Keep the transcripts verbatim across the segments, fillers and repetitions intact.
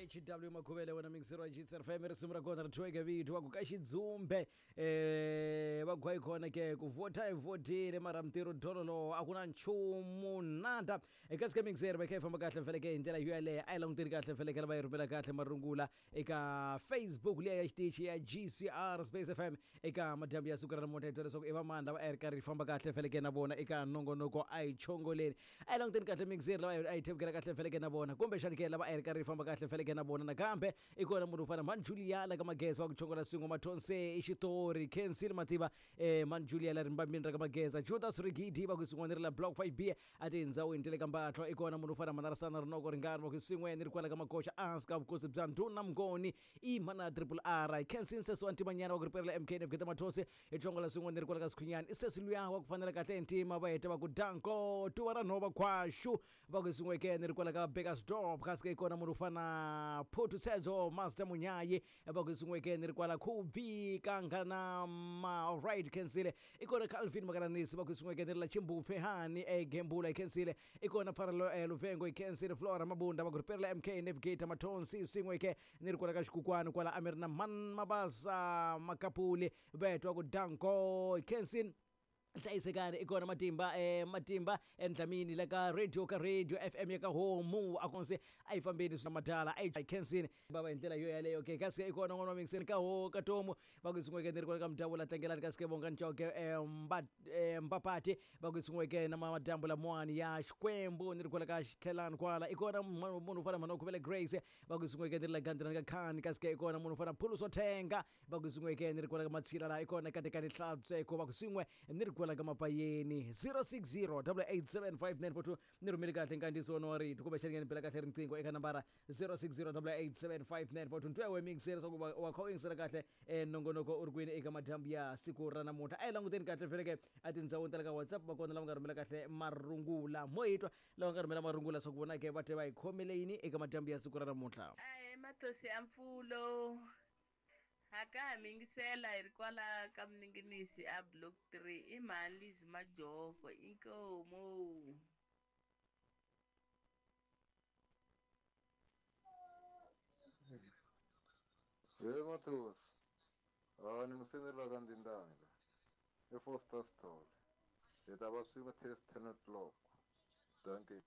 H W Makhuvele wena mixer wa G C R F M risimu ra kona ri thyiweke vito va ku ka xidzumbe eh va gwayi kona ke ku vhota hi vhotile mara mintirho dololo a ku na nchumu nada eka sika mixer va kha yi famba kahle feleke hi ndlela yo yaleyo a yi languteli kahle feleke va yi rhumela kahle marungula eka Facebook liya ya xitichi ya G C R Space F M eka madyambu ya siku ra namuntlha hi twa leswaku i vamani lava a yi ri karhi yi famba kahle feleke na vona eka nongonoko a yi chongoleni a yi languteni kahle mixer lava a yi thevukela kahle feleke na vona kumbexani ke lava a yi ri karhi yi famba kahle feleke na vona nakambe i kona munhu u fana Man Julia la ka Mageza wa ku chongola swin'we Mathonse i xitori Kensile Mativa eh Man Julia la rimbambini ra ka Mageza Judas Rigidi va ku swin'we ni ri la Block five B a tindhawini ta le ka Mbatlwa i kona munhu u fana Manarasana Rinoko Ringani va ku swin'we ni ri kwala ka Makoxa ehansi ka vukosi bya Ndhuna Mngoni i mana Triple R Kensile Sesi wa Ntimanyana wa ku riperela M K Navigate Mathonse i chongola swin'we ni ri kwala ka Sikhunyani i sesi luya wa ku fanela kahle hi ntima va heta va ku danko tuva ra nhova khwaxu va ku swin'we ke ni ri kwala ka Bekkersdorp kasi ke i kona munhu u fana Phutu Sedzo Master Munyayi va ku swin'we ke ni ri kwala Khubi Kangana ma alright Kensile i kona Calvin Makaranisi va ku swin'we ke ni ri la Chimbufe hani e Gembula i Kensile i kona Pfarelo eh, Luvengo i Kensile Flora Mabunda va ku riperela M K Navigator Mathonsi swin'we ke ni ri kwala ka Xikukwani kwala a mi ri na Man Mabasa Makapuli va twa ku danko i Kensile hlayisekani i kona Matimba eh Matimba endlamini la ka radio ka radio F M ya ka Homu a konse a yi fambeni swa madala a yi Kensini baba hi ndlela yo yaleyo ke kasi i kona n'wana wa mixeni ka ho ka tomu va ku swin'we ke ni ri kwala ka Mdavula tlangelani kasi ke Bongani Chauke eh mba eh, Mbapati va ku swin'we ke na madyambu lamawani ya Xikwembu ni ri kwala ka Xitlhelani kwala i kona munhu u fana Mhana Khuvele Grace va ku swin'we ke ni ri la Gandzilani ka Khani kasi ke i kona munhu u fana Phuluso Thenga va ku swin'we ke ni ri kwala ka Matshila la i kona Katekani Hlantsweko va ku swin'we ni ri kwala ka Mapayeni zero six zero double eight seven five nine four two ni rhumele kahle nkandziyiso wa rito kumbe xani ni bela kahle riqingho eka nambara zero six zero double eight seven five nine four two ntwewe mixer swa ku va wa kha u yingisela kahle eh, nongonoko u ri kwini eka madyambu ya siku ra namuntlha a yi languteni kahle feleke a tindhawini ta le ka WhatsApp va kona lava nga rhumela kahle marungula mo hi twa lava nga rhumela marungula swa ku vona ke va te va hi khomele yini eka madyambu ya siku ra namuntlha Ahee Mathosi ya mpfulo ha ka ha mi yingisela hi ri kwala ka Mninginisi a Block three i mhani Liz Majoko inkomu. He Mathosi a ni museni la ka Ndindani la i Foster Sithole hi ta va swin'we till ten o'clock dankie.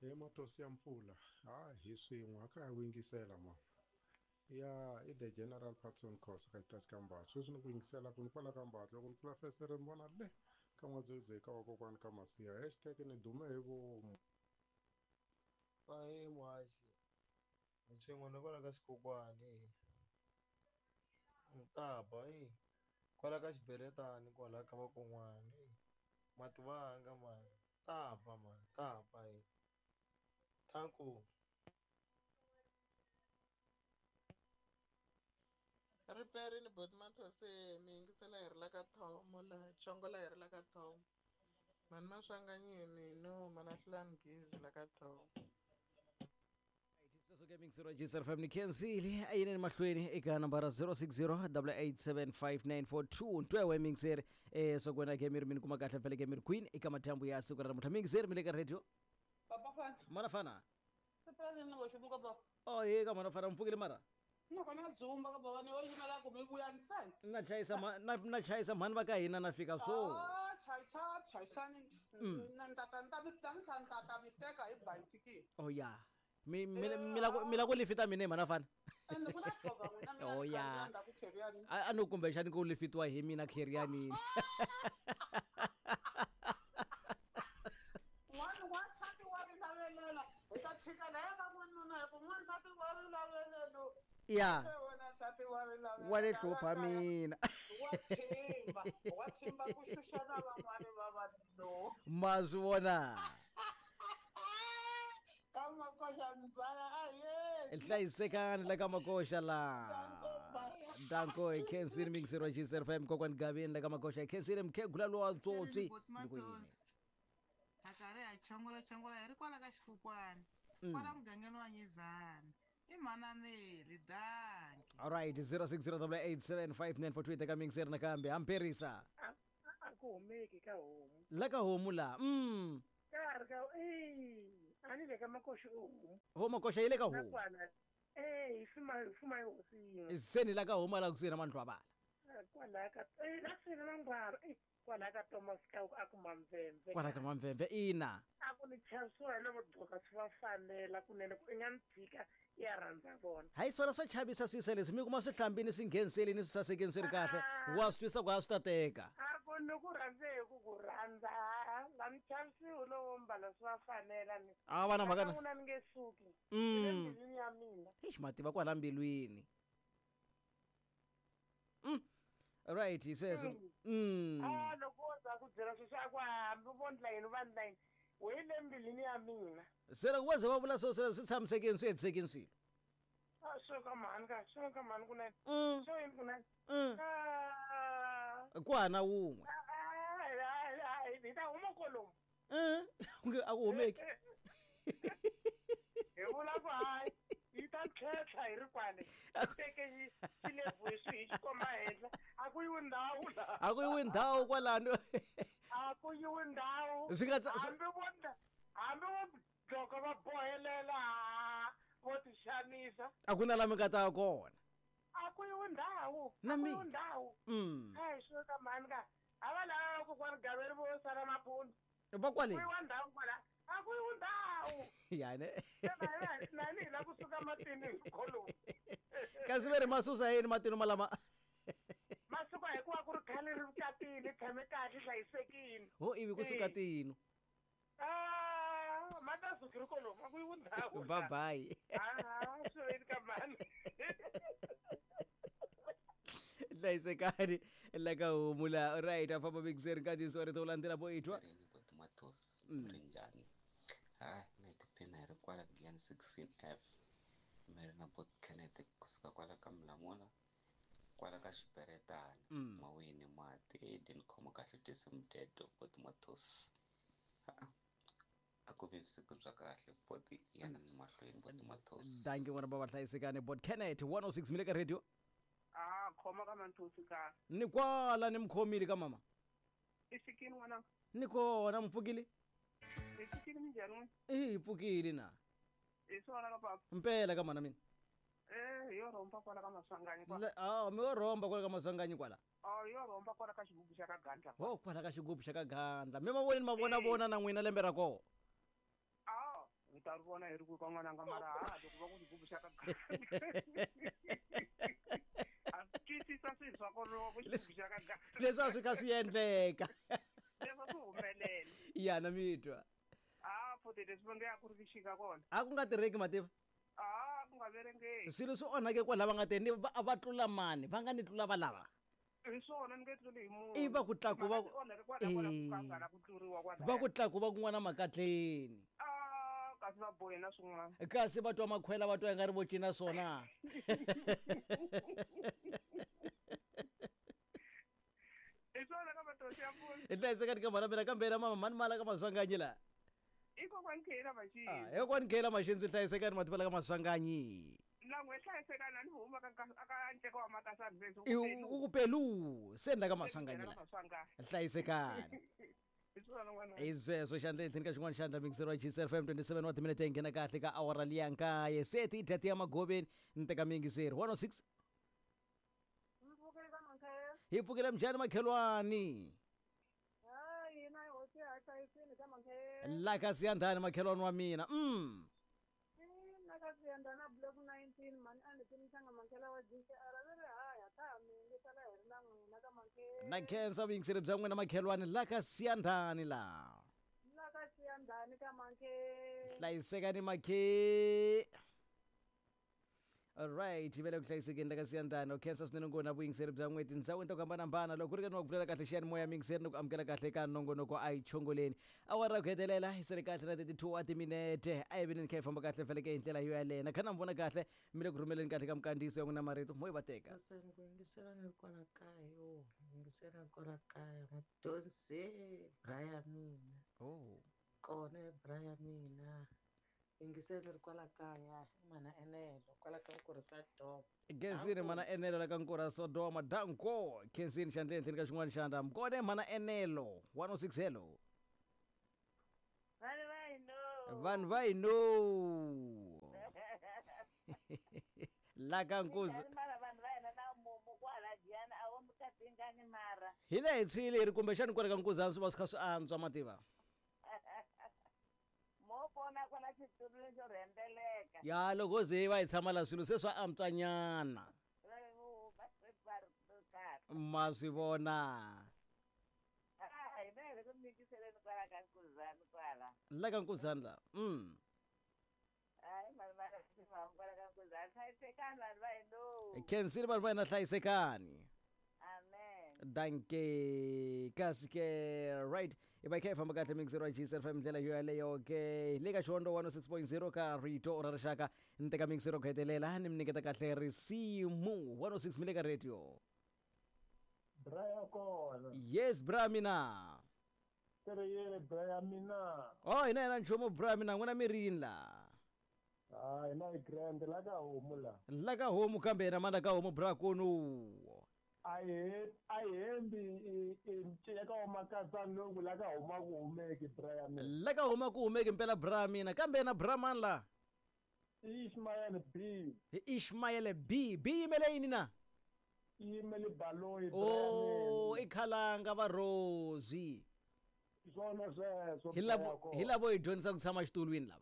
He Mathosi ya mpfula ha hi swin'we a ka ha ku yingisela ma ya i the General Patson Khosa ka xitasi ka Mbatla sweswi ni ku yingisela ku ni kwala ka Mbatla loko ni pfula fesere ni vona le ka N'wadzwedze ka vakokwani ka Masiya hashtag ni dume hi vomu. Ahee muhaxi hi swin'we ni kwala ka Xikokwani Ntaba e kwala ka Xiberetani kwala ka vakon'wana mativanga mani taba mani taba e thanku. Riperini boti Mathose mi yingisela hi ri la ka Thomo laha chongola hi ri la ka Thomo mhani Maswanganyini no mana Hlulani Gezi la ka Thomo. Sweswo ke mixer wa G C R F M ni khensile a yineni mahlweni eka nambara zero six zero double eight seven five nine four two ntwewe mixer eh swa ku wena ke mi ri mi ni kuma kahle feleke mi ri kwini eka madyambu ya siku ra namuntlha mixer mi le ka radio Papa fana mana fana tatani na voximuka baba oh ye ka mana fana mpfukile mara nakona dzumba ka baba ni wo yimela ku mi vuya ntsena na chayisa ma na na chayisa mhani va ka hina na fika swo ah chayisa chayisani na ntata nta mi ta ntlha ta mi teka hi bayisikili oh ya mi mi mi la ku mi la ku lifita mina hi mhana fana ende ku na tlhova n'wina mi oh ya ndzhaku kheriani a no kumbexani ku lifitiwa hi mina kherianini n'wana n'wansati wa rilavelela hi ta tshika laya ka n'wanuna hi ku n'wansati wa rilavelelo ya wena nsati wa rilavelela wa le hlupha mina wa tshimba wa tshimba ku xuxa na van'wani va vanhu ma swi vona ka Makoxa mzala aye hlayisekani la ka Makoxa la danko hi khensile mixer wa G C R F M kokwani Gavini la ka Makoxa hi khensile mukhegula lowa tsotsi Boti Mathosi ha karhi ha chongola chongola hi ri kwala ka Xikukwani kwala mugangeni wa Nyizana i Mhananeli danki. Alright zero six zero double eight seven five nine four two eka mixer nakambe hamperisa a ku humeki ka homu la ka homu la mm ka ri ka e a ni le ka Makoxa u homu ho Makoxa yi le ka homu nakwana Eh, hi fuma hi fuma hi hosi yin'we. Se ni la ka huma la kusuhi na Mandlwabala. Kwalaya ka eh la kusuhi na Mandlwabala. Eh, kwalaya ka Thomas ka a ku Mamvemve. Kwala ka Mamvemve ina. A ku ni chavisiwa hi lavo gqoka swi va fanela kunene ku i nga ni tshika ya rhandza vona. Hayi swona swa chavisa swisa leswi mi kuma swi hlambini swi ngheniseli swi sasekeni swi ri kahle. Wa swi twisa ku a swi ta teka. A ku ni ku rhandze hi ku ku rhandza la ni chavisiwi lowo mbala swi va fanela ni. A va na mhaka na. N'wina ni nge suki. Mm. Embilwini ya mina. Eish mativa kwala mbilwini. Mm. Right, hi sweswo. Mm. Ah, loko wo za ku byela sweswo a ku hambi vo ndla yini va ndla yini. We le mbilwini ya mina. Se loko wo ze va vula sweswo swi tshamisekeni swi hetisekeni swilo. Ah, swo ka mhani ka, swo ka mhani kunene. Mm. Swo yini kunene. Mm. Ah. Ku hana wun'we. Ah, hi ta huma kolomu. Eh, a ku humeki. Hi vula ku hayi yi ta tlhetlha hi ri kwale. Teke xi xilebvu hi swi hi xi komba henhla. A ku yiwi ndhawu la. A ku yiwi ndhawu kwalano. A ku yiwi ndhawu. Swi nga hambi vo hambi vo dloko va bohelela vo ti xanisa. A ku na la mi nga ta kona. A ku yiwi ndhawu. Na A ku mi. yiwi ndhawu. Mm. Hayi swo ka mhani ka. A va lava kokwani Gaveri vo sala maphundu. Va kwale. Ku yiwa ndhawu kwala. A ku yiwi ndhawu. Yani. Nani hi la kusuka matini hi kolomu. Kasi ve ri masusa yini matini malama? Masuka hikuva ku ri khale ri vukatini tshame kahle hlayisekile. Ho ivi kusuka tino. Ah, ma ta suki ri kolomu a ku yiwi ndhawu. Bye bye. Ah, swo yini ka mhani. Hlayisekani la ka homu la. Right, a famba mixer nkandziyiso wa rito wu landzela bo itwa. Matos Mm. ri njhani? Hayi na hi tiphina hi ri kwala Giyani sixteen F mi ri na bot Kenneth kusuka kwala ka Mlamula kwala ka Xiperetana. Mm. Mawini mati edi ni khoma kahle tinsimu teto bot Matos. Ha a ku vi vusiku bya kahle bot yana ni mahlweni bot Matos. Danki n'wana bava hlayisekani bot Kenneth one oh six mi le ka radio. Ah, khoma ka Manthosi ka. Ni kwala ni mkhomile ka mama. I fikile n'wana. Ni kona mpfukile. I fikile minjhani n'wina? Eh, hi pfukile na. Hi swona ka papa. Mpela ka mana mina. Eh, hi yo rhomba kwala ka Maswanganyi kwala. Ah, mi yo rhomba kwala ka Maswanganyi kwala. Ah, hi yo rhomba kwala ka xigubu xa ka Gandla. Ho kwala ka xigubu xa ka Gandla. Mi ma vonile ma vona vona na n'wina lembe ra kona. Ah, hi ta ri vona hi ri ku ka n'wananga mara ha loko va ku xigubu xa ka Gandla. A twisisa swilo swa kona loko ku xigubu xa ka Gandla. Leswi a swi kha swi endleka. Leswi swi humelela. Ya na mi twa. Ah, futhi leswi va nge a ku ri vuxika kona. A ku nga tirheki mativa. Ah, ku nga verengeki. Swilo swi onhake kwala va nga teni va va tlula mani, va nga ni tlula va lava. Hi swona ni nge tluli hi munhu. I va ku tlaku va onhake kwala kwala ku ka nga ku tluriwa kwala. Va ku tlaku va kun'wana makatleni. Ah, kasi va bohe na swin'wana. Kasi va twa makhwela va twa i nga ri vo cina swona. Hi swona ka Matosi ya mpfula. Hi hlayisekani ka mhana mina kambe na mama mani mala ka Maswanganyi la. I kokwani Khela Maxinzi. Ah, hi kokwani Khela Maxinzi hlayisekani mativa la ka Maswanganyi. Na n'we hlayisekani a ni huma ka ka ka nceka wa Makasani sweswi. I u ku pelu se ni la ka Maswanganyi la. Maswanganyi. Hlayisekani. Hi swona n'wana. Hi sweswo xandla ehenhleni ka xin'wana xandla mixer wa G C F M twenty-seven wa timinete yi nghena kahle ka awara liya nkaye se ti dya tiya magoveni ni teka miyingiseri one oh six. Mpfukile ka Mankhele. Hi pfukile mjhani makhelwani. Hayi na hosi ya hlayisini ka Mankhele. La ka Siyandhani makhelwani wa mina. Mm. Na ka Siyandhani block nineteen mani a ni timisanga Mankhele wa G C R va ri haya ka ha mi yingisela hi ri na n'wina ka Mankhele. Na khensa vuyingiseri bya n'wina makhelwani la ka Siyandhani la. La ka Siyandhani ka Mankhele. Hlayisekani makhe. All right, vele ku hlayisekeni la ka Siyandhani u khensa swinene ngopfu na vuyingiseri bya n'we tindhawini ta ku hambanahambana loko ku ri ka ni wa ku pfulela kahle xiyanimoya miyingiseri ni ku amukela kahle ka nongonoko a yi chongoleni awara ku hetelela hi sele kahle na thirty-two wa timinete a yi veni ni kha yi famba kahle feleke hi ndlela yo yaleyo na kha na mi vona kahle mi le ku rhumeleni kahle ka mikandziyiso ya n'wina marito mo yi va teka. Ni ku yingisela ni ri kwala kaya yo yingisela ni ri kwala kaya Madonsi bra ya mina. Oh. Kona bra ya mina. Yingisela ni ri kwala kaya mana Enelo kwala ka Nkurha Sodoma. Khensini mana Enelo la ka Nkurha Sodoma danko Khensini xandla ehenhleni ka xin'wana xandla mkone mana Enelo one oh six hello. Vanhu va hi no. Vanhu va hi no. La ka nkuzi Minjhani mara vanhu va hina na mumu kwala Giyani a wo mi katingani mara. Hi le hi tshwile hi ri kumbexani kwale ka nkuzani swi va swi kha swi antswa mativa. Mo pona kwala xitulwini xo rhendeleka. Ya loko ze va hi tshama la swilo se swa antswanyana. Va va ri kahle. Ma swi vona. Ah, hina hi le ku mingiseleni kwala ka nkuzani kwala. La ka nkuzani la. Mm. Hayi mani mara mahungu kwala ka nkuzani. Hlayisekani vanhu va hina. Khensile vanhu va hina hlayisekani. Amen. Danke kasi ke right i va i kha i famba kahle mixero wa G S F M ndlela yo yaleyo ke le ka Xihondzo one oh six point zero ka Rito ra Rixaka ni teka mixero ku hetelela ni mi nyiketa kahle risimu one oh six mi le ka radio. Bra ya kona. Yes bra mina. Tere yele bra ya mina. Oh hina hina nchumu bra mina n'wina mi rini la. Ah hina hi grand la ka homu la. La ka homu kambe na mana ka homu bra konu. Ahe ahembi i nceka wa makasani loku la ka huma ku humeki bra ya mina. La ka huma ku humeki mpela bra mina kambe na bra man la. Ishmael B. Ishmael B. B yimele yini na? Yimele baloyi bra Oh i khalanga va Rosie. Swona sweswo. Hi lavo hi lavo hi dyondzisa ku tshama xitulwini lava.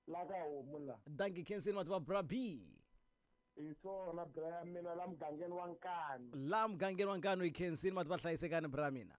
La ka homu la. Dankie Khensini mati va bra B. Hi swona bra ya mina la mugangeni wa Nkanu. La mugangeni wa Nkanu hi Khensini mati va hlayisekani bra mina.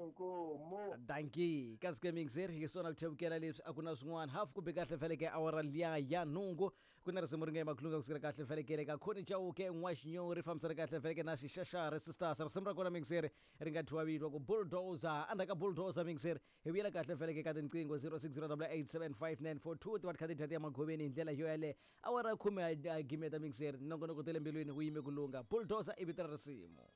Inkomu. Dankie kasi ke mixer hi swona ku thevukela leswi a ku na swin'wana half ku be kahle feleke awara liya ya nhungu ku na risimu ri nga emakulunga kusukela kahle felekele ka Khoni Chauke N'waxinyori ri fambisana kahle feleke na Xixaxari Sisters risimu ra kona mixer ri nga thyiwa vito ku Bulldozer endzhaku ka Bulldozer mixer hi vuyela kahle feleke ka tinqingho zero six zero double eight seven five nine four two ti va ti kha ti dya ti ya magoveni hi ndlela yo yaleyo awara ya khume a gimeta mixer nongonoko ta le mbilwini wu yime ku lungha Bulldozer i vito ra risimu.